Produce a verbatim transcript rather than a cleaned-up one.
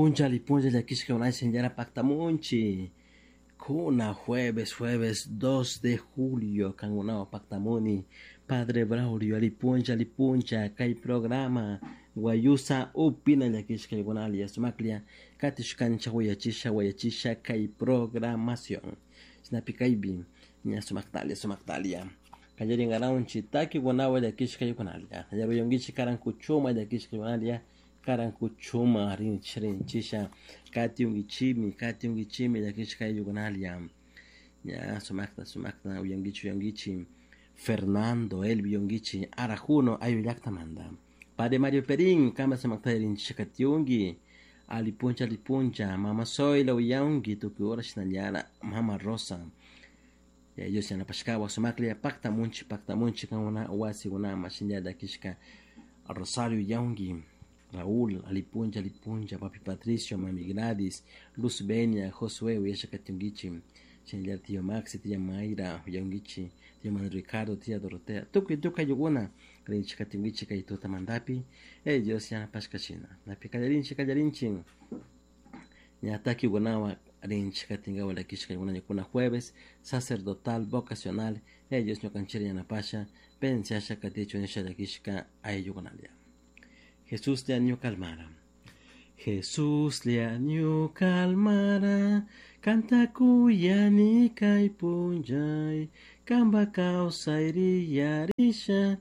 Alipuncha, alipuncha, llakishka unaycha paktamunchi. Kuna jueves, jueves dos de julio, kangunao paktamuni. Padre Braulio, alipuncha, alipuncha, kay programa. Guayusa upina llakishka yugunalia sumaklia. Katishkancha wayachisha, wayachisha kay programación. Shinapi kaypi, ña sumaktalia, sumaktalia. Kallaringaranchi taki guanawa llakishka yugunalia. Yaruyungichi karankuchuma llakishka yugunalia. Karankuchuma rinchi rinchisha. Katiungichimi, katiungichimi llakishka yugunalia. Ña sumakta, sumakta, uyangichi, uyangichi. Fernando, Elvi yungichi, Arajuno, ayu llaktamanta. Padre Mario Perín, kama sumakta rinchisha katiungi. Alipuncha, alipuncha, Mama Zoila uyangi, tukuy hora shinallara, Mama Rosa. Ya Dios yanapashkawa sumaklia pakta munchi pakta munchi kankuna wasikunama shinalla llakishka Rosario yaungi Raúl alipuncha alipuncha papi Patricio mami Gladys Luz Benia Josué uyasha katiungichi shinallara tío Maxi tía Mayra uyangichi tío Manuel Ricardo tía Dorotea tukuy tukuy ayllukuna rinchik katiungichik kay tutamantapi eh Dios yanapashka shina napi kallarinchik kallarinchik ña takikunawan rinchik katinkawa llakishka kuna jueves sacerdotal vocacional eh Dios ñukanchik yanapasha pensasha katichun nisha llakishka ayllukunalla Jesús ñuka almara Jesús ñuka almara kanta kuyani kay punllay kanpak kawsayri yarisha.